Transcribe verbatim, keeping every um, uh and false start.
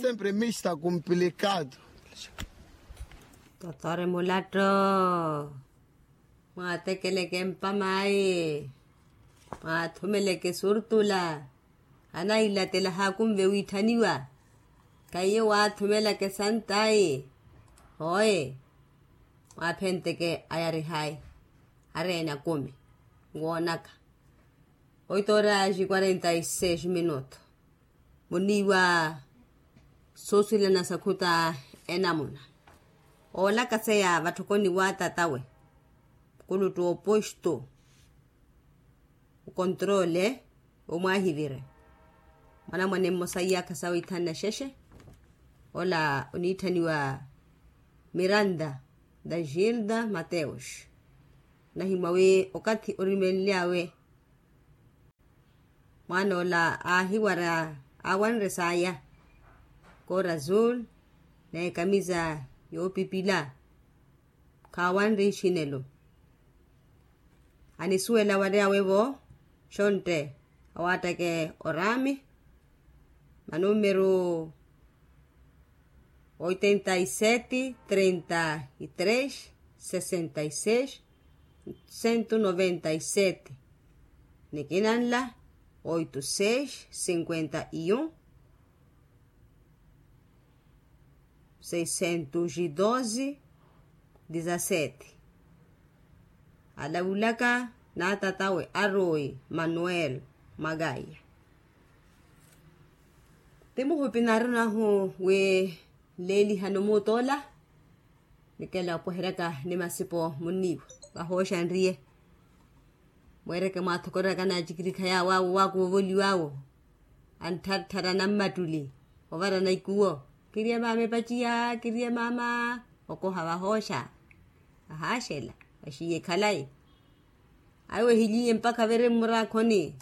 Sempre mista complicado. Totore mulatto, mwaatekeleke mpamayi, mwaathumeleke surtula, anailatela haakunve wiitthaniwa. Kaiye waathumelaka esantayi. Hooye, mwaaphenteke ayarihayi, areene akumi, nwoonaka. Oito horas e quarenta e seis minuto. Muniiwa soosilana sakhuta enamuna, oolakaseya vatthokoni wa tatawe, mukulutu oposto, okontroole omwaahivire. Mwanamwane mmosa iyaakha sawa ithanu na xexe. Ola oniitthaniwa miranda da gilda mateus. Onahimwa wi okathi orimenly'awe, mwaan'ola aahiwara, aawanre saaya, koora azul, n'ekamisa yoopipila, khaawanre ixinelo. Anisuwela waryawe-vo, xontte awaatteke oraami, manummeru oitenta e sete, trinta e três, sessenta e seis, cento noventa e sete. Nikinanla oito seis cinquenta e um, seiscentos e doze, dezassete. Alavulaka n'atatawe aroyi manuel, makaiya. Ti muhupi naarunahu wi nleelihano muutoola, nikela opweheryaka ni masipo munniiwa, vahooxa nriye. Mweereke mwaathokoreraka naacikirikha yaawo awo waakuva ovoliw'awo, anttartthara nammattuli, ovarana ikuwo, kiriye maama epaciya, kiriye maama. Okoha vahooxa, ahaaxela, vaxiye khalayi. Awe ehiliye mpakha avere mmuraakhoni.